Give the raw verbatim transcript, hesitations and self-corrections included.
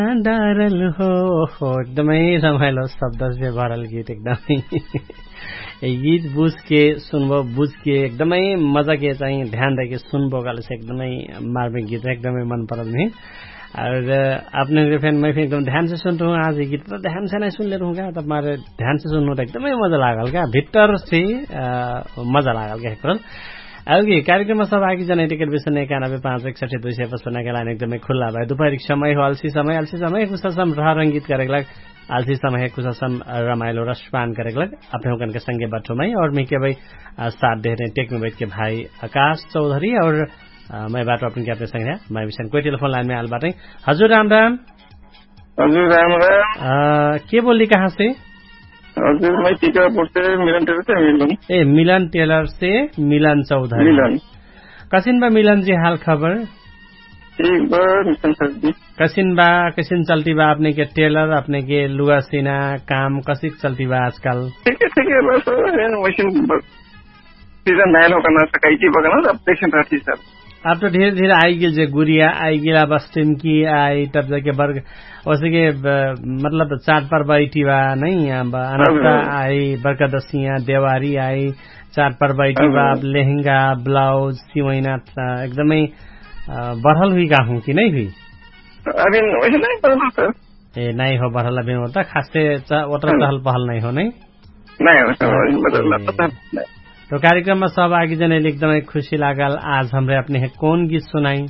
डारल हो हो एकदमै रमाइलो शब्दसे भरल गीत एकदमै। गीत बुझके सुनबो बुझके एकदमै मजाके चाहिँ ध्यान दैके सुनबो कहलेसे एकदमै मार्मिक गीत एकदमै मन परल नि। और अपने फेन मै फेन एकदम ध्यान से सुन रहूँ आज गीत त ध्यान से नै सुन ले रहूँ का तब मारे ध्यान से सुन रहूँ त एकदमै मजा लागल का भित्तर से। मजा लागल का हेकरल। अउगी कार्यक्रममा सब आगी जनै टिकट बिसने एकानबे पाँच एकसठी दुई सय पचपन्नका लाइन एकदमै खुल्ला भाइ दुपहरिक समय हो अलसी समय अलसी समय कुछ असम रह रंगित करेक लाग। अलसी समय कुछ असम रमाइलो रसपान करेक लाग। अपने हुकनके संगे बठो मै और मिके भाइ साथ देहरे टेकमे बैठके भाइ आकाश चौधरी और मै बाटो अपने के अपने संगे मै बिसन कोइ टेलिफोन लाइनमे आल बाटै। हजुर राम राम। हजुर राम राम। के बोल्ली कहाँसे? हजुर मै टिकापुरसे मिलन टेलरसे मिलन। ए मिलन टेलरसे मिलन चौधरी मिलन। कसिन बा मिलन जी हाल खबर? ठीक बा मिशन सर जी। कसिन बा? कसिन चल्ती बा अपने के टेलर अपने के लुगा सिना काम कसिक चल्ती बा आजकल? ठीक है ठीक है बस। वैसे सीजन नाइन होगा ना सकाइकी बगना अब देखिन रहती सर। अब तो ढेर ढेर आइगेल जे गुरिया आइगेल अब अस्टिम की आई तब जाके बर्ग ओसे के मतलब चाट पर बैठी बा नहीं अब अनस्ता आई बर्गदसिया देवारी आई चाट पर बैठी बा अब लेहंगा ब्लाउज सिवैना एकदमै बढ़ल हुई का हूँ कि नहीं हुई? अभी वैसे नहीं बढ़ल सर। ए नाइ हो बढल अभिन ओता खास्ते ओतरा चहल पहल नाइ हो नै। नाइ हो। तो कार्यक्रममा सब आगी जनैले एकदमै खुशी लागल। आज हमरे अपने है कौन गीत सुनाई?